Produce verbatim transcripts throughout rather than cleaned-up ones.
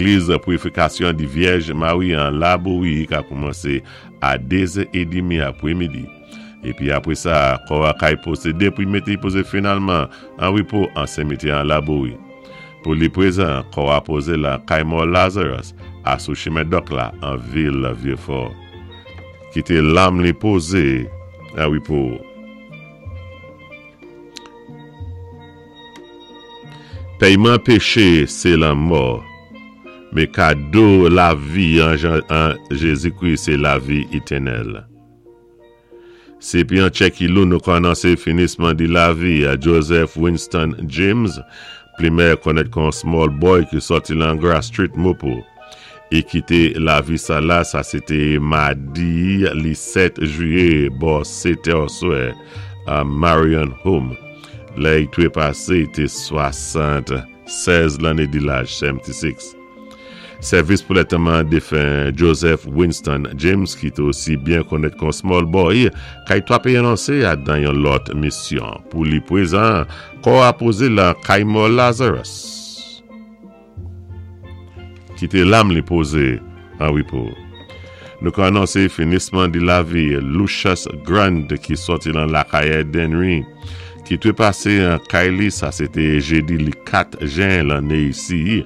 Légliz Pirifikasyon di Vyèj Mari an Labouri ka koumansé a dé zè édmi apwémidi. Épi apwé sa, kò a kay pwosédé pou mété pozé finalman an wépo an simityè an Labouri. Pou li pwézan, kò a pozé la kay mò Lazarus a sou chimen Dòk la an vil Vyé-Fò. Kité lanm li pozé an wépo. Péyman péché, sé lanmò, mé kado lavi an, an Jézi-Kri, sé lavi étènèl. Sé pi an Tchèkilou nou ka anonsé finisman di lavi a Joseph Winston James, plimè konnèt kon Small Boy ki sòti lan Grass Street Mopo. I kité lavi sa la, sa sé té madi li sèt jwiyé bò sèt è oswè a Marion Home. Lè i twépasé té swasann-sèz lanné di laj, swasannsis. Sèvis pou lantèman défen Joseph Winston James, ki té osi byen konnèt kon Small Boy, kay twapé anonsé a dan yon lòt misyon. Pou li pwézan, kò a pozé lan kay mò Lazarus. Kité lanm li pozé an wépo. Nou ka anonsé finisman di lavi Lucius Grant ki sòti lan Lakayè Dennery, ki twépasé an kay li, sa sé té jédi li kat jen lanné isi,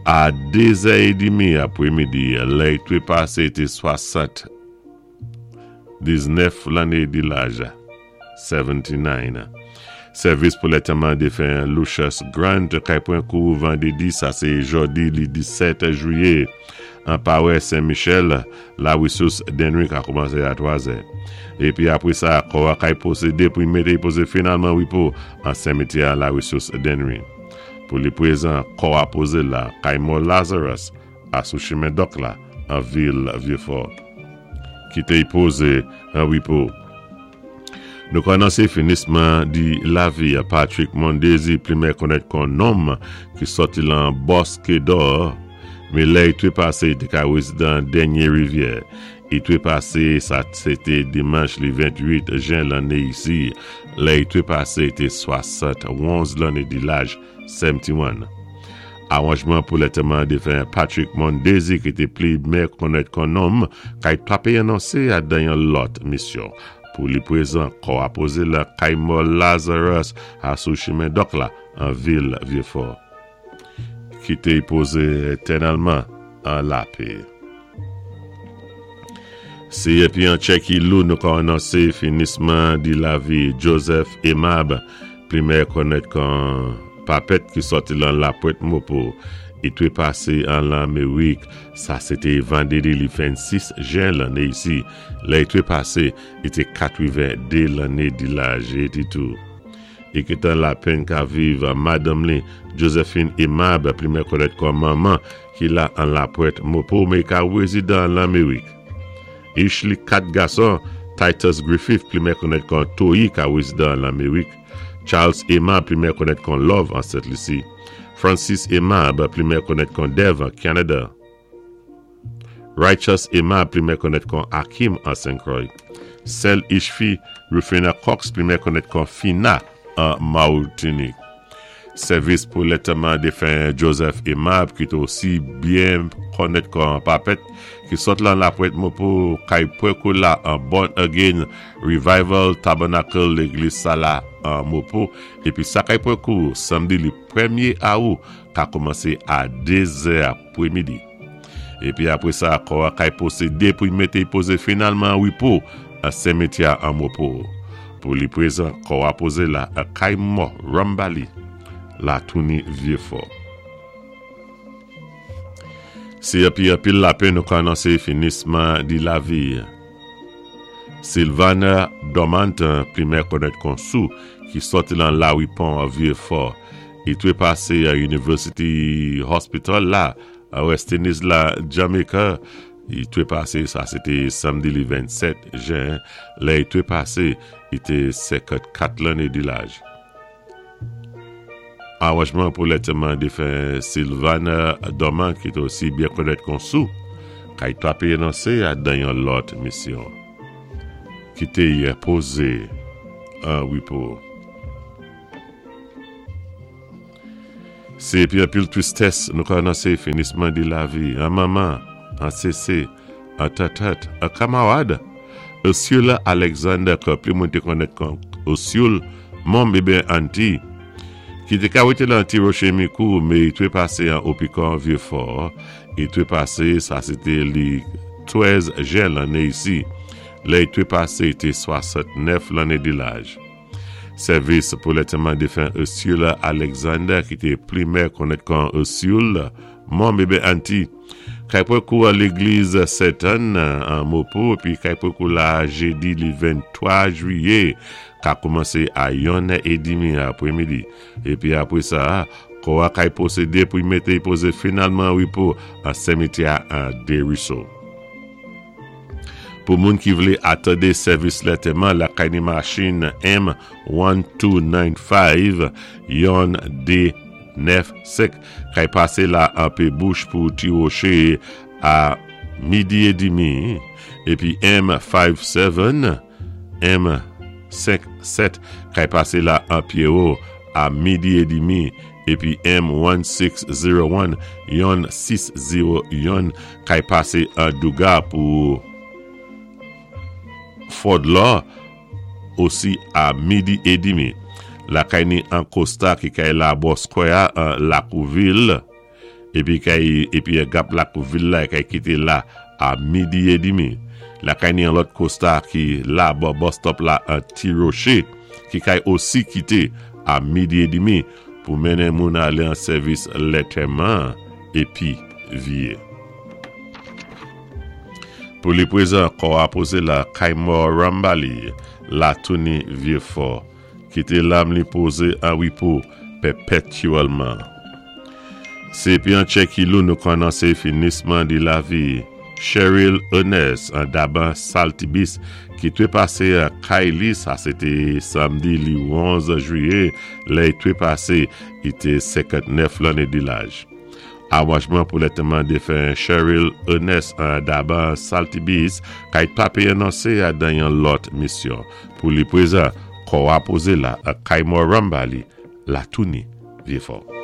a dé zè édmi apwémidi, lè i twépasé té swasann-diznèf lanné di laj, swasanndiznèf. Sèvis pou lantèman défen Lucius Grant kay pwan kou vandédi, sa sé jòdi li disèt jwiyé, an pawès Saint-Michel, la Ressource Dennery ka koumansé a twa zè. Épi apwé sa, kò a kay pwosédé pou mété pozé finalman wépo an simityè la Ressource Dennery. Pou li pwézan, kò a pozé la, kay mò Lazarus, a sou chimen Dòk la, an vil Vyé-Fò. Kité y pozé an wépo. Nou ka anonsé finisman di lavi a Patrick Mondesi, plimè konnèt kon nonm ki sòti lan Bosque d'Or, mé lè i twépasé té ka wézidan Dènyé Rivyè. I twépasé, sa sé té dimanch li venn-tuit jen lanné isi, lè i twépasé té swasann-onz lanné di laj, swasannonz. Awanjman pou lantèman défen Patrick Mondesi ki té plimè konnèt kon nonm, kay twapé anonsé a dan yon lòt misyon. Pou li pwézan, kò a pozé la kay mò Lazarus a sou chimen Dòk la, an vil Vyé-Fò. Kité y pozé étènèlman an lapè. Sé épi an Tchèkilou nou ka anonsé finisman di lavi Joseph Emab, plimè konnèt kon Papèt ki sòti lan Lapwèt Mopo, i twépasé an Lanmérik, sa sé té vandédi li vennsis jen lanné isi, lè i twépasé, i té katwenn-dé lanné di laj eighty-two. I kité an lapenn ka viv madanm li Josephine Emab, plimè konnèt kon Manman, ki la an Lapwèt Mopo, mé ka wézidan Lanmérik. Ich li kat gason, Titus Griffith, plimè konnèt kon Toyi, ka wézidan Lanmérik. Charles Emab, plimè konnèt kon Love an Sent Lisi. Francis Emab, plimè konnèt kon Dev an Canada. Righteous Emab, plimè konnèt kon Hakim an Saint Croix. Sèl ich fi, Rufina Cox, plimè konnèt kon Fina an Martinique. Sèvis pou lantèman défen Joseph Emab, ki té osi byen konnèt kon Papèt, ki sot lan Lapwèt Mopo, kay pwan la an Born Again Revival Tabernacle légliz sa la an Mopo, épi sa kay pwan kou samdi li pwémyé awou, ka koumansé a dé zè apwémidi. Épi apwé sa, kò a kay pwosédé pou mété pozé finalman wépo an simityè an Mopo. Pou li pwézan, kò a pozé la a kay mò Rambali, la touni Vyé-Fò. Sé épi anpil lapenn nou ka anonsé finisman di lavi. Sylvana Dormant, plimè konnèt kon Sou, ki sòti lan Lawipon Vyé-Fò, i twépasé a University Hospital la, a West Indies la, Jamaica, i twépasé, sa sé té samdi li vennsèt jen, lè i twépasé, i té senkannkat lanné di laj. Awanjman pou lantèman défen Sylvana Dormant, ki té osi byen konnèt kon Sou, kay twapé anonsé a dan yon lòt misyon. Kité y pozé an wépo. Sé épi an pil twistès nou ka anonsé finisman di lavi an manman, an sésé, an tatat, an kanmarad. Ursula Alexander, ké plis moun té konnèt kon Ursule, Mom ébyen Auntie, ki té ka wété lan Ti Woché Mikou, mé i twé pasé an Opikon Vieux-Fort, i twé pasé, sa sé té li twèz jen lanné isi. Lè i twé pasé, i té swasant-nèf lanné di laj. Sèvis pou lantèman défen Ursula Alexander, ki té plimè konnèt kon Ursule, Mom ébyen Auntie, kay pwan kou a légliz Sent-Ann an Môpo, épi kay pwan kou la jédi li venntwa jwiyé, ka koumansé a yonn è édmi apwémidi. Épi apwé sa, kò a kay pwosédé pou y mété y pozé finalman an wépo an simityè an Desruisseaux. Pou moun ki vlé atandé sèvis lantèman, la kay ni machin M en de nèf senk yon D nèf senk kay pasé la an Pé Bouch pou Ti Woché a midi édmi, épi M senk sèt M senk sèt kay pasé la an Pierrot a midi édmi, épi M en sis zéwo en yon sis zéwo yon kay pasé an Douga pou Fort Law osi a midi édmi. La kay ni an Costa ki kay la bò Square an Lakouvil, épi kay épi gap Lakouvil la kay kité la a midi édmi. La kay ni an lòt Costa ki la bò bus stop la an Ti Rocher ki kay osi kité a midi édmi pou mennen moun alé an sèvis lantèman épi véyé. Pou li pwézan, kò a pozé la kay mò Rambali, la Touni Vieux-Fort, kité lam li pozé an wépo pèpétyèlman. Sé épi an tchè ki lou nou ka anonsé finisman di lavi Cheryl Ernest an Daban Saltibis ki twé pasé a kay li, sa sé té samdi li onz jwiyé, lè i twé pasé, i té senkant-nèf lanné di laj. Awanjman pou lantèman défen Cheryl Ernest an Daban Saltibis kay papé anonsé a dan yon lòt misyon. Pou li pwézan, kò a pozé la a kay mò Rambali, la Touni Vieux-Fort.